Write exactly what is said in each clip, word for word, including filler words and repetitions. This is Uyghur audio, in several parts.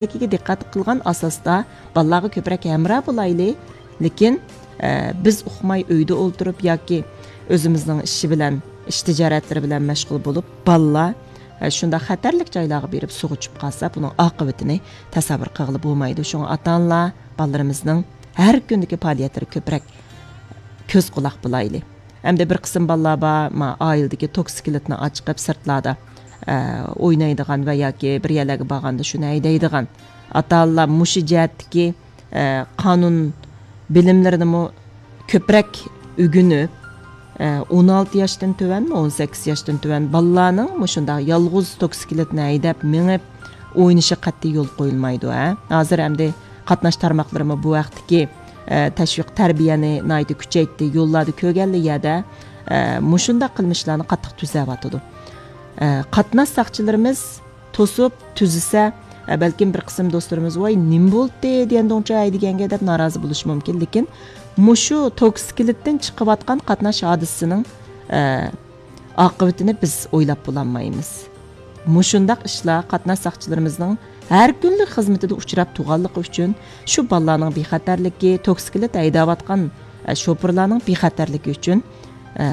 دىققەت قىلغان ئاساستا بالىلارغا كۆپرەك ھەمراھ بولايلى. لېكىن، ئە، بىز ئۇقماي ئۆيدە ئولتۇرۇپ ياكى ئۆزىمىزنىڭ ئىشى بىلەن، ئىش تىجارەتلىرى بىلەن مەشغۇل بولۇپ، بالىلار، ئە، شۇنداق خەتەرلىك جايلارغا بېرىپ سۇغا چۈشۈپ قالسا، بۇنىڭ ئاقىۋىتىنى تەسەۋۋۇر قىلغىلى بولمايدۇ. شۇڭا ئاتا-ئانىلار بالىلىرىمىزنىڭ ھەر كۈندىكى پائالىيەتلىرى كۆپرەك كۆز قۇلاق بولايلى. ئەمدى بىر قىسىم بالىلار بار، ما، ئائىلىدىكى توكسىكلىتنى ئاچىقىپ سىرتلاردا، ئە، ئوينايدىغان ۋە ياكى بىر يەرلەرگە بارغاندا شۇنى ھەيدەيدىغان. ئاتا-ئانىلار مۇشۇ جەھەتتىكى، ئە، قانۇن بىلىملىرىنىمۇ كۆپرەك ئۆگىنىپ، ئە، ئون ئالتە ياشتىن تۆۋەنمۇ، ئون سەككىز ياشتىن تۆۋەن بالىلارنىڭ مۇشۇنداق يالغۇز توكسىكلىتنى ھەيدەپ مېڭىپ ئوينىشى قەتئىي يول قويۇلمايدۇ، ھە. ھازىر ئەمدى قاتناش تارماقلىرىمۇ بۇ ھەقتىكى، ئە، تەشۋىق تەربىيەنى ناھايىتى كۈچەيتتى. يوللاردا كۆرگەنلا يەردە، ئە، مۇشۇنداق قىلمىشلارنى قاتتىق تۈزەۋاتىدۇ. ئە، قاتناش ساقچىلىرىمىز توسۇپ، تۈزىسە، ئە، بەلكىم بىر قىسىم دوستلىرىمىز، «ۋاي، نېمە بولدى دېگەندىڭچۇ ھەيدىگەنگە؟» دەپ نارازى بولۇشى مۇمكىن. لېكىن مۇشۇ توكسىكلىتتىن چىقىۋاتقان قاتناش ھادىسىسىنىڭ، ئە، ئاقىۋىتىنى بىز ئويلاپ بولالمايمىز. مۇشۇنداق ئىشلار قاتناش ساقچىلىرىمىزنىڭ ھەر كۈنلۈك خىزمىتىدە ئۇچراپ تۇرغانلىقى ئۈچۈن، شۇ بالىلارنىڭ بىخەتەرلىكى، توكسىكلىت ھەيدەۋاتقان، ئە، شوپۇرلارنىڭ بىخەتەرلىكى ئۈچۈن، ئە،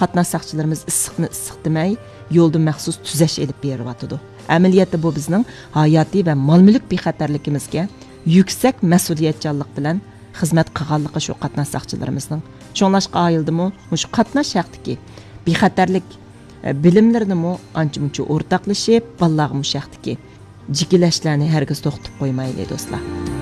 قاتناش ساقچىلىرىمىز ئىسسىقنى ئىسسىق دېمەي، يولدا مەخسۇس تۈزەش ئېلىپ بېرىۋاتىدۇ. ئەمەلىيەتتە بۇ بىزنىڭ ھاياتىي ۋە مال-مۈلۈك بىخەتەرلىكىمىزگە يۈكسەك مەسئۇلىيەتچانلىق بىلەن خىزمەت قىلغانلىقى شۇ قاتناش ساقچىلىرىمىزنىڭ. شۇڭلاشقا ئائىلىدىمۇ مۇشۇ قاتناش ھەققىدىكى بىخەتەرلىك، ئە، بىلىملىرىنىمۇ ئانچە-مۇنچە ئورتاقلىشىپ، بالىلارغا مۇشۇ ھەقتىكى جىكىلەشلەرنى ھەرگىز توختىتىپ قويمايلى، دوستلار.